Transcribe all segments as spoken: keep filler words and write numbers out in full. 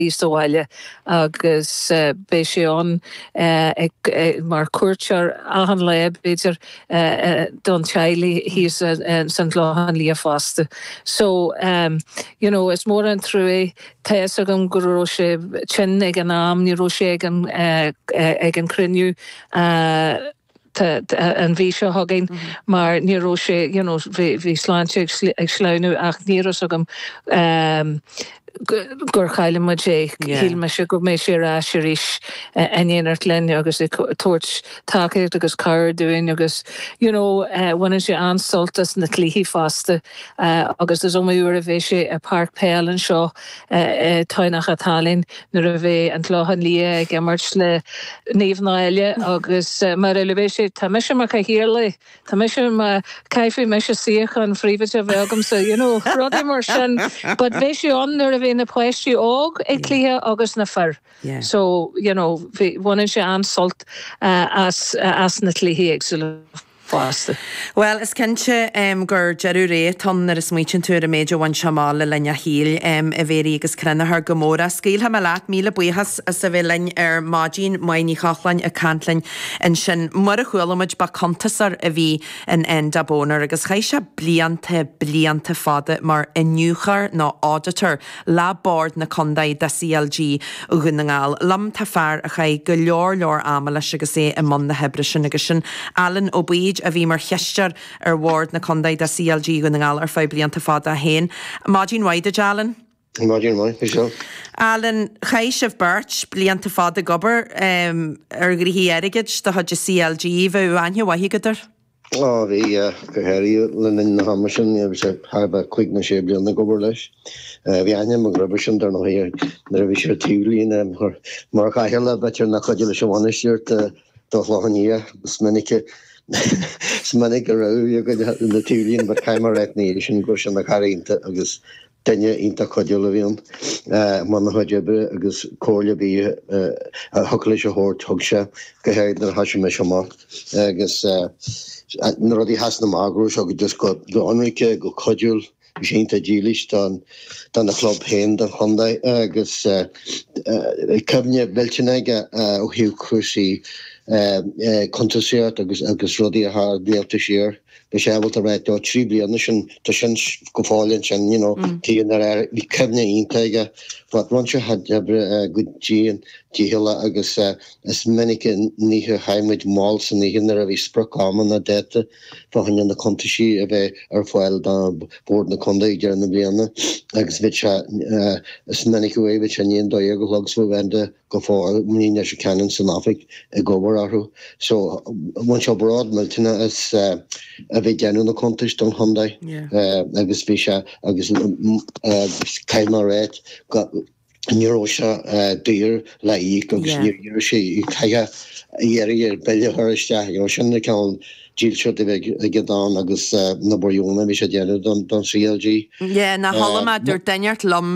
sa bhaile agus uh, beidh sé ann uh, ag, uh, mar cuairteoir achan lá b'fhéidir uh, uh, don teaghlach thíos uh, san Chlochán Liath fosta. So um, you know, is mór an trua tá agam go raibh sé tinn ag an am ní raibh sé ag an uh, ag an cruinniú uh, an mhí seo chugainn mm -hmm. mar ní raibh sé you know, bhí sláinte ag sleamhnú ach ní raibh agam um, gur chaill muid é shíl mise go mbeadh sé ar ais arís in éineacht linn agus ag tabhairt tacaíocht agus cabhair dúinn agus you know, uh, bhaineann sé an-sult as na cluichí fosta uh, agus is iomaí uair a bhí sé i bpáirc peile anseo uh, Tamhnach an tSalainn nuair a bhí an Clochán Liath ag imirt le Naomh Náille agus uh, mar a bhí sé tá mise mar chathaoirleach Tá mise ma caithfidh mise suíochán phríomhoide a bheith agamsa you know, rudaí mar sin, but bhí sé ann nuair a bhí na páistí óg ag cluiche agus na fir. Yeah. So you know, bhaineann sé an-sult uh, as, uh, as na cluichí éagsúla fosta. Well, is cinnte um, gur deireadh ré atá ann nuair a smaoitíonn tú ar an méid a bhain sé amach le linn a shaoil um, a Mhéirí agus Crannachar go mór. Scaoilfidh mé leat míle buíochas as a bheith linn ar maidin Máire Ní Chochláin ag caint linn ansin. Mar a chuala muid ba cuntasóir a bhí in Enda Boner agus chaith sé blianta blianta fada mar iniúchóir nó auditor le Bord na Contae de CLG Dhún na nGall. Liom tá fear a chaith go leor leor ama leis agus é i mbun na hoibre sin agus sin Alan Ó Baoid a bhí mar chisteoir ar Bhord na Contae de CLG Dhún na nGall ar feadh blianta fada féin. Maidin mhaith duit Alan? Maidin mhaith seo. Alan chaith sibh beirt blianta fada ag obair um, ar ghnóthaí airgid de chuid CLG bheith aithne mhaith agat air? Á bhí go háirithe le linn na hama sin bhí sé thar bheith cúig nó sé bliana ag obair leis. Bhí aithne agam roimhe sin dar ndóigh nuair a bhí sé taobhlíne mar chathaoirleach b'fhéidir nach cuidiú leis an bhainistíocht do Chlochán Liath is minic is minic go raibh na taobhlíne but caithfidh mé a rá ní sin go sin na cara agus duine iontach cuidiúil a bhí ann mar na chuid oibre agus comhairle bhí a thug leis a thabhairt thug sé go háirithe nuair a thosaigh mise amach agus na rudaí theas na magro seo go just go go ionraice go cuidiúil bhí sé iontach dílis don don na club féin don chontae agus cuimhne mhillteanach aige ó thaobh cúrsaí cuntasaíocht agus agus rudaí a tharla blianta siar. Bhí sé ábalta rá trí bliana sin tá sin go fóill ansin you know tí ar bhí cuimhne iontach aige but rinne sé a chuid oibre go dian dícheallach agus is minic oíche chaith muid mall san oíche nuair a bhí sprioc ama dáta fá choinne na cuntaisí a bheith ar fáil do bhord na contae ag deireadh na bliana agus bhí sé is minic uaidh bhí sé i ndiaidh a dó dhéag a chlog sa bhenda go fóill ní leis ceann san oifig ag obair orthu. So bhain sé bród millteanach as a bheith déanamh na cuntais don chontae agus bhí sé agus caithfidh mé a rá ní raibh sé daor le íoc agus níor iarr sé chaithfeadh a iarraidh ar bille a chur isteach. You know, sin na ceann dílseacht a bheith aige don agus na buíona bhí sé déanamh don don CLG. Yeah, na chuala mé dúirt duine liom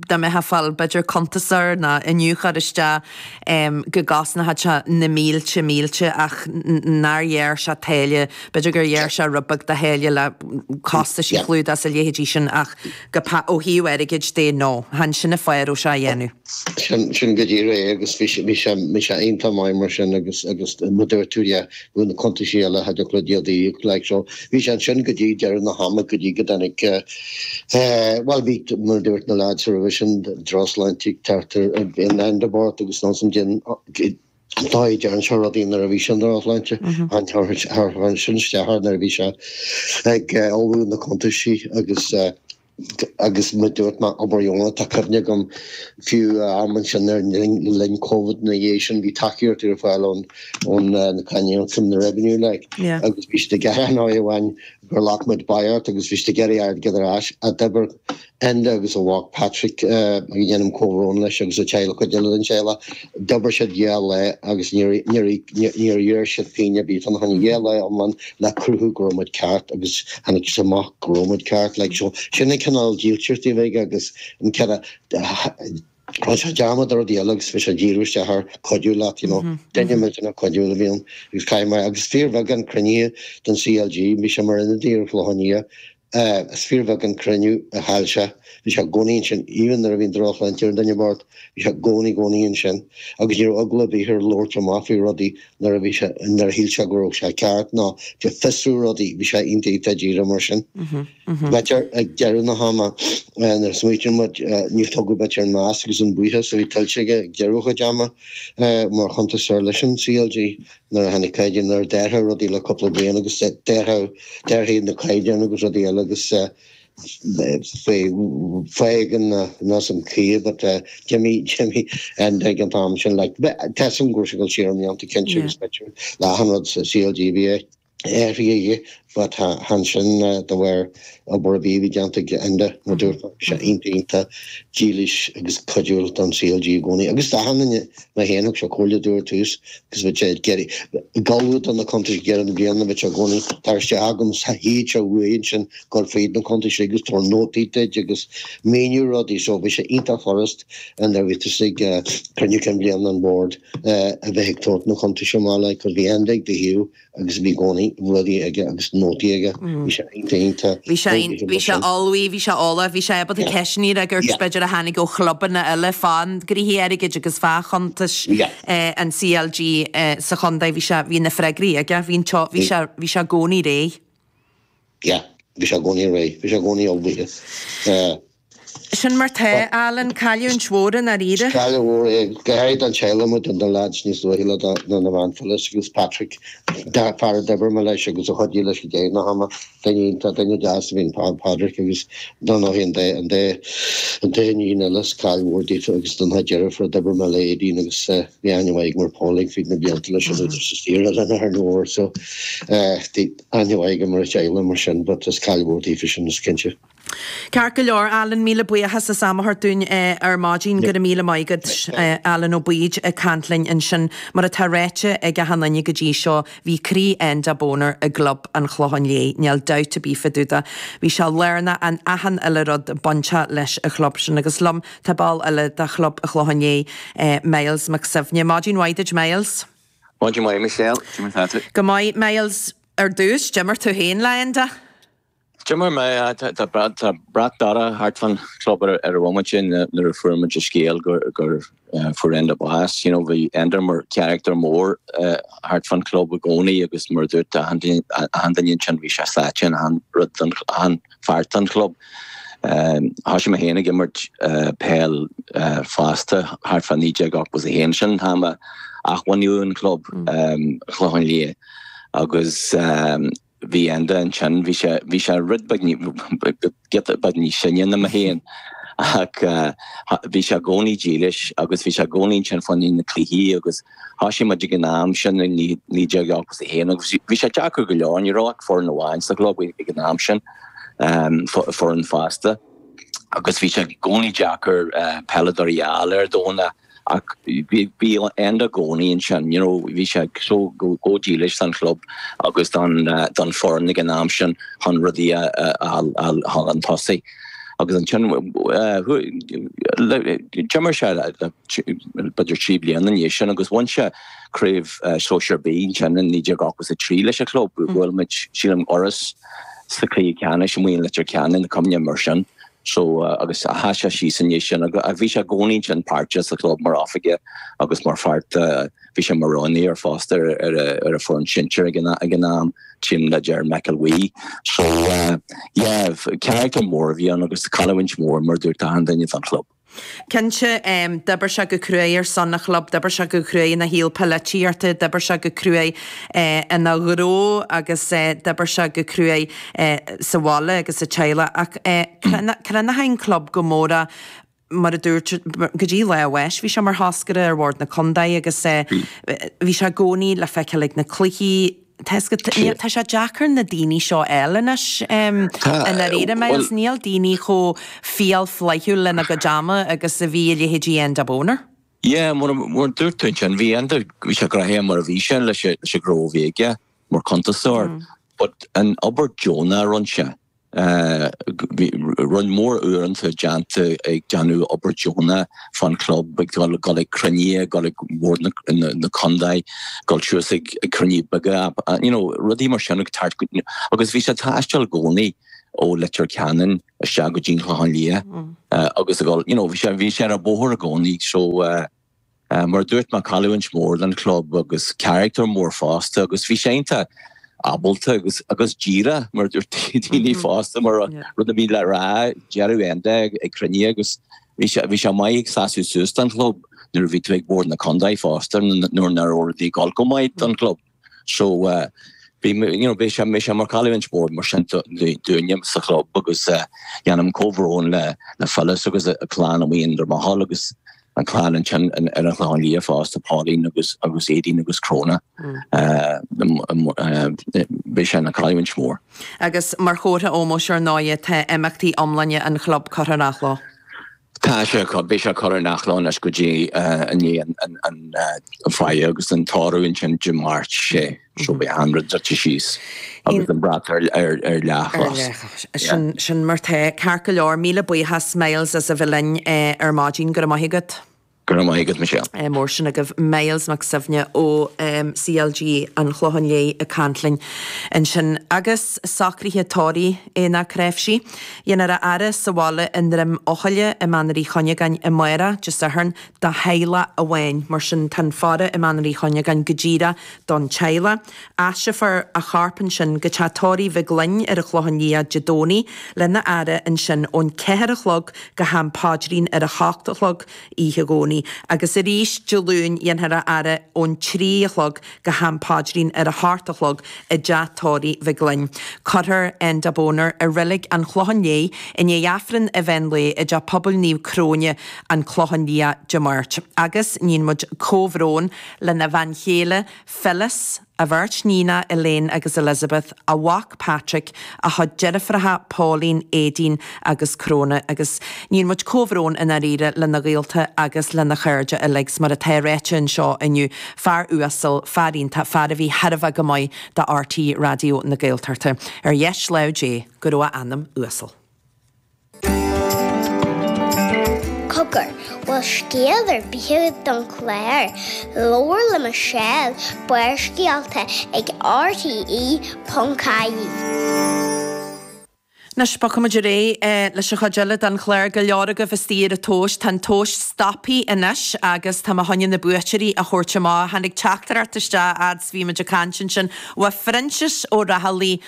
dá mbeifeá ag fáil b'fhéidir cuntasóir nó iniúchóir isteach go gcosnódh sé na mílte mílte ach nár ghearr sé táille, b'fhéidir gur ghearr sé rud beag de tháille le costais a chlúdach is a leithéidí sin ach go ó thaobh airgid de no, chan sin an fáth a raibh sé á dhéanamh. Sin sin go díreach é agus bhí sé bhí sé bhí sé iontach maith mar sin agus agus mar dúirt tú yeah, bhí na cuntaisí eile had le iad a íoc like so bhí sé ansin go dtí deireadh na hama go dtí go dtáinig well bhí mar dúirt na lads roimhe sin drochshláinte ag teacht in Enda Bord agus nó san din dá dean seo rudaí nuair a bhí sin drochshláinte an thar sin isteach nuair a bhí sé ag ullmhú na cuntaisí agus agus mar dúirt mé obair dheonach tá cuimhne agam fiú am ansin ar linn COVID na dhiaidh sin bhí tacaíocht ar fáil ón ón na cainníocht na revenue like agus bhí siad ag gearán amháin gur ghlac muid buyout agus bhí siad ag iarraidh airgead ar ais a d'oibir Enda agus a mhac Patrick a dhéanaim comhbhrón leis agus a teaghlach cuid eile den teaghlach d'oibir siad dhá lá agus níor níor iarr siad pingin ar bith fá choinne dhá lá iomlán le cruthú go raibh muid ceart agus tháinig sé amach go raibh muid ceart like so sin an cineál dílseacht a bhí aige agus an ceann Rinne sé dearmad ar rudaí eile agus bhí sé díriú isteach ar cuidiú leat you know duine millteanach cuidiúil a bhí ann agus caithfidh mé agus fíorbheagán cruinnithe den CLG bhí sé mar ionadaí ar Chlochán Liath Is fíorbheag an cruinniú a chaill sé. Bhí sé i gcónaí ansin, even nuair a bhí an drochshláinte ar an duine bocht, bhí sé i gcónaí, gcónaí ansin. Agus ní raibh eagla ar bith air labhairt amach faoi rudaí nuair a bhí sé, nuair a shíl sé go raibh sé ceart nó ag fiosrú rudaí, bhí sé iontach, iontach díreach mar sin. B'fhéidir ag deireadh na hama, nuair a smaoitíonn muid, níor tugadh b'fhéidir an meas agus an buíochas a bhí tuillte aige ag deireadh a chuid ama mar chuntasóir leis an CLG. Nuair a tháinig caighdeán, nuair a d'athraigh rudaí le cúpla bliain agus d'athraigh na caighdeáin agus rudaí eile agus fágann nós an chaoi but d'imigh, d'imigh Enda ag an t-am sin like tá a fhios agam go raibh sé ag dul siar i mblianta cinnte agus b'fhéidir le achan rud sa CLG bhí athraithe aige but chan sin de bharr obair ar bith a bhí déanta ag Enda mar dúirt mé bhí sé iontach iontach dílis agus cuidiúil don CLG i gcónaí agus d'achan duine mé féin thug sé comhairle domh ar tús agus bhí sé ag iarraidh ag ullmhú do na cuntais ag deireadh na bliana bhí sé i gcónaí tar isteach agam théadh sé uaidh ansin dul fríd na cuntais agus tabhair nótaí duit agus míniú rudaí so bhí sé iontach furast nuair a bhí tusa ag cruinniú cinn bliana an bhoird a bheith ag tabhairt na cuntais amach like cos bhí Enda ag do thaobh agus bhí i gcónaí rudaí aige agus nótaí aige. Bhí sé iontach iontach Bhí sé bhí sé ullmhaithe, bhí sé eolach, bhí sé ábalta ceisteanna a fhreagairt b'fhéidir a tháinig ó chlubanna eile fán ghnóthaí airgid agus fá chuntais an CLG sa chontae. Bhí sé, bhí na freagraí aige, bhí an teo, bhí sé, bhí sé i gcónaí réidh. Yeah, bhí sé i gcónaí réidh, bhí sé i gcónaí ullmhaithe. Sin mar tá, Alan, cailliúint mhór i ndáiríre. Is cailliúint mhór é, go háirithe don teaghlach, muid, do na lads níos luaithe le na na man Phyllis agus Patrick, fear a d'oibir mé leis agus a chuidigh leis go deireadh na hama, duine iontach, duine deas a bhí in Padraic agus dar ndóigh an dá an dá an dá iníon eile, is caill mhór daofa agus don chuid deirfiúr a d'oibir mé le Aideen agus bhí aithne mhaith agam ar Paul fríd na blianta leis an údar sa tír eile ar an uair so bhí aithne mhaith agam ar a teaghlach mar sin but is caill mhór daofa sin is cinnte. Ceart go leor, Alan, míle buíochas as am a thabhairt dúinn ar maidin. Go raibh míle maith agat, Alan Ó Baoid ag caint linn ansin. Mar atá ráite ag achan duine go dtí seo, bhí croí Enda Boner i gClub an Chlocháin Léith, níl dabht ar bith fá dtaobh de. Bhí sé lárnach in achan uile rud bainteach leis an chlub sin. Agus liom tá ball eile de Chlub an Chlocháin Léith, Myles Mac Suibhne. Maidin mhaith duit, Myles. Maidin mhaith, Michelle. Cad é mar atá tú? Go maith, Myles. Ar dtús, d'imir tú féin le Enda? D'imir mé, tá brat dorcha thart fán chlub ar an bhomaite sin nuair a fuair muid an scéal gur fuair Enda bás. You know, bhí Enda mar charachtar mór thart fán chlub i gcónaí agus mar a dúirt achan duine ansin bhí sé sáite in achan rud don, achan pháirt den chlub. Thosaigh mé féin ag imirt peil fosta thart fá naoi déag ochtó a haon, sin an t-am a athbhunaíodh an club, Clochán Liath, agus Bhí Enda ansin, bhí sé, bhí sé rud beag, giota beag níos sine ná mé féin ach bhí sé i gcónaí dílis agus bhí sé i gcónaí ansin fá choinne na cluichí agus thosaigh muid ag an am sin i naoi déag ochtó a haon agus bhí sé deacair go leor, ní raibh ach foireann amháin sa chlub ag an am sin, foireann fásta agus bhí sé i gcónaí deacair peileadóirí a fháil ar Domhnach. Ach bhí Enda i gcónaí ansin, you know, bhí sé so chomh dílis don chlub agus don don foireann ag an am sin chun rudaí a a chun tosaigh. Agus ansin d'imir sé b'fhéidir trí bliana ina dhiaidh sin agus bhain sé craobh sóisear B ansin in naoi déag ochtó a trí leis an chlub. Bhuail muid, sílim, Iorras sa chluiche ceannais amuigh in Leitir Ceanainn, cuimhním mar sin. So, agus sheas sé síos i ndiaidh sin agus bhí sé i gcónaí ansin páirteach sa chlub mar oifigeach agus mar pháirt, bhí sé mar roghnóir fosta ar ar ar an foireann sinsir ag an ag an am, sílim le Ger McElwee. So, yeah, character mór a bhí ann agus cailliúint mhór mar a dúirt achan duine don chlub. Cinnte, d'oibir sé go cruaidh ar son an chlub, d'oibir sé go cruaidh ina shaol polaitíochta, d'oibir sé go cruaidh ina ghnó agus d'oibir sé go cruaidh sa bhaile agus sa teaghlach. Ach chruinnigh an club go mór é, mar a dúirt, go dtí lá a bháis bhí sé mar thoscaire ar bhord na contae agus bhí sé i gcónaí le feiceáil ag na cluichí. Tá tá sé deacair na daoine seo a fháil anois i ndáiríre, Myles, níl daoine chomh fial flaithiúil lena gcuid ama agus a bhí a leithéidí Enda Boner. Yeah, mar a dúirt tú ansin, bhí Enda, bhí sé gnoitheach mar a bhí sé leis an ghnó a bhí aige mar chuntasóir, but an obair deonach a rinne sé, Bhí roinnt mhór uaireanta déanta ag déanamh obair deonach fán chlub, ag dul ag cruinnithe, ag dul ag bord na contae, dul suas ag cruinnithe beaga, you know, rudaí mar sin ag tabhairt, agus bhí sé ag taisteal i gcónaí ó Leitir Ceanainn isteach go dtí an Clochán Liath agus a dhul, you know, bhí sé bhí sé ar an bóthar i gcónaí so mar a dúirt mé cailliúint mór don chlub agus character mór fosta agus bhí sé iontach ábalta agus agus díreach mar dúirt daoine fosta mar rud a bhí le rá deireadh Enda ag cruinniú agus bhí sé bhí sé maith ag seasamh suas don chlub nuair a bhí tú ag bord na contae fosta nuair nach raibh rudaí ag dul go maith don chlub. So uh, bhí you know, bhí sé bhí sé mar cailliúint mór mar sin dúinne sa chlub agus uh, déanaim comhbhrón le le Phyllis agus a clann amuigh in Dromahail agus an clann ansin ar an Chlochán Liath fosta Pauline agus agus Aideen agus Cróna. Bhí sé ina cailliúint mór. Agus mar chomhartha ómóis ar ndóigh tá imeachtaí iomlána an chlub curtha ar athló. Tá sé beidh sé curtha ar athló anois go dtí i ndiaidh an faire agus an tórramh ansin Dé Máirt sé so beidh an rud druidte síos agus an brat ar leathchos. Sin sin mar tá ceart go leor míle buíochas Myles as a bheith linn ar maidin go raibh maith agat. Go raibh maith agat Michelle. Mór sin agaibh Myles Mac Suibhne ó CLG an Chlocháin Léith ag caint linn ansin. Agus socruithe tórraimh Aonach Creimhsí. Dhéanfar a fhaire sa bhaile i nDroim Eochaille i Manar Uí Chuinneagáin amárach, Dé Sathairn, do theaghlach amháin. Mar sin tá an faire i Manar Uí Chuinneagáin go díreach don teaghlach. Aistreofar a chorp ansin go teach tórraimh Mhig Fhloinn ar an Chlochán Liath Dé Domhnaigh lena fhaire ansin ón ceathair a chlog go ham paidrín ar a hocht a chlog oíche Dhomhnaigh. Agus arís Dé Luain dhéanfar a fhaire ón trí a chlog go ham paidrín ar a hocht a chlog i dteach tórraimh Mhig Fhloinn. Cuirfear Enda Boner i reilig an Chlocháin Léith i ndiaidh Aifreann an mheán lae i dteach pobail Naomh Cróine an Clochán Liath Dé Máirt. Agus níonn muid comhbhrón lena bhean chéile Phyllis, a bheirt níonacha Elaine agus Elizabeth, a mhac Patrick, a chuid deirfiúracha Pauline, Aideen agus Cróna agus níonn muid comhbhrón i ndáiríre lena ghaolta agus lena chairde uilig 's mar atá ráite anseo inniu, fear uasal, fear iontach, fear a bhí thar a bheith go maith do RTÉ Raidió na Gaeltachta. Ar dheis lámh Dé go raibh a anam uasal. Cogar, bhfuil scéal ar bith agat don chlár? Labhair le Michelle, Barrscéalta ag RTE ponc ie. Anois, bogfaimid ar aghaidh leis an chuid eile den chlár. Go leor agaibh istigh ar an tomhas. Tá an tomhas stoptha anois agus tá mé chun na buaiteoirí a thabhairt amach. Tháinig teachtaireacht isteach fhad 's bhí muid ag caint ansin ó Phroinsias Ó Raghallaigh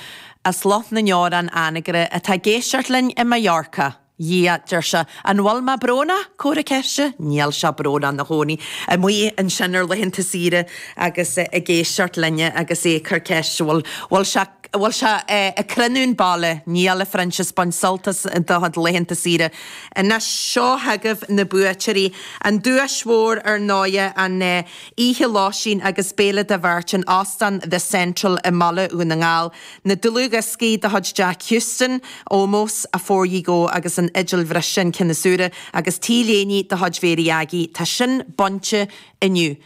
as Loch na nDeorán, Anagaire, atá ag éisteacht linn i Mallorca. Dhia, deir sé, an bhfuil mé brónach? Comhartha ceiste? Níl sé brónach ina chónaí amuigh ansin ar laethanta saoire agus ag éisteacht linne agus é ag cur ceist bhfuil bhfuil sé bhfuil sé ag crinneadh an baile? Níl, a Phroinsias, bain sult as do chuid laethanta saoire. Anois seo chugaibh na buaiteoirí. An duais mhór ar ndóighe an oíche lóistín agus béile do bheirt in Óstán The Central i mBaile Dhún na nGall. Na dlúthdhioscaí de chuid Jack Huston, Ómós, Afore You Go agus an Fhidil Bhriste an ceann is úire, agus T-léine de chuid Mhéirí Aggie. Tá sin bainte inniu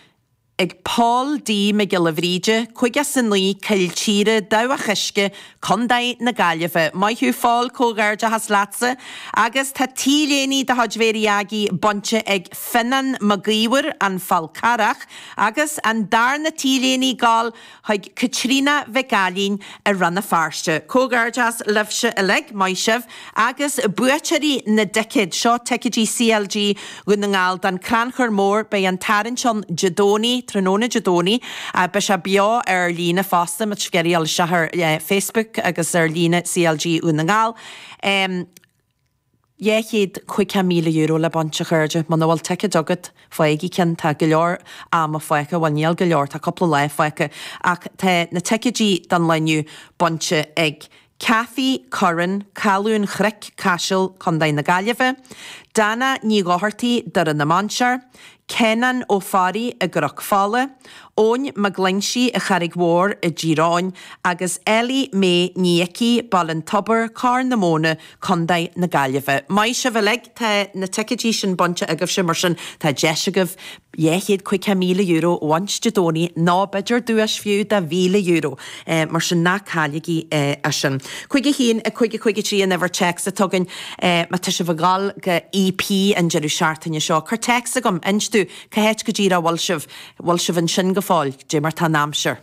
ag Paul D. Mac Giolla Bhríde, caoga is a naoi, Cill Tíre, Dabhach Uisce, Contae na Gaillimhe. Maith thú Phól, comhghairdeachas leatsa. Agus tá T-léine de chuid Mhéirí Aggie bainte ag Fionnán Mac Íomhair, An Fál Carrach, agus an darna T-léine ag gabháil chuig Caitríona Mhic Ailín i Rann na Feirste. Comhghairdeas libhse uilig, maith sibh! Agus buaiteoirí na dticéad, seo ticéidí CLG Dhún na nGall don Crannchur Mór, beidh an tarraingt ann Dé Domhnaigh, tráthnóna Dé Domhnaigh. Beidh sé beo ar líne fosta, má tá sibh ag iarraidh dul isteach ar Facebook agus ar líne CLG Dhún na nGall. Dhá chéad caoga míle euro le baint, a chairde. Muna bhfuil ticéad agat, faighigí ceann. Tá go leor ama fágtha, bhuel níl go leor, tá cúpla lá fágtha, ach tá na ticéidí don lá inniu bainte ag Cathy Curran, Caladh an Chnoic, Caiseal, Contae na Gaillimhe, Dana Ní Dhochartaigh, Doire na Mainsear, Kenan Ó Fearraigh i gCnoc Fola, Eoin Mac Loingsigh i Charraig Mhór i dTír Eoghain agus Ellie May Ní Icí, Baile an Tobair, Corr na Móna, Contae na Gaillimhe. Maith sibh uilig, tá na ticéidí sin bainte agaibhse mar sin tá deis agaibh dhá chéad caoga míle euro a bhaint Dé Domhnaigh nó b'fhéidir duais fiú de mhíle euro. Mar sin ná cailligí é sin. Cúig a haon a cúig a cúig a trí an uimhir téacs atá againn má tá sibh ag dul go EP an deireadh seachtaine seo. Cuir téacs chugam, inis domh cá háit go díreach a bhfuil sibh, bhfuil sibh ansin go fóill, dé mar tá an aimsir.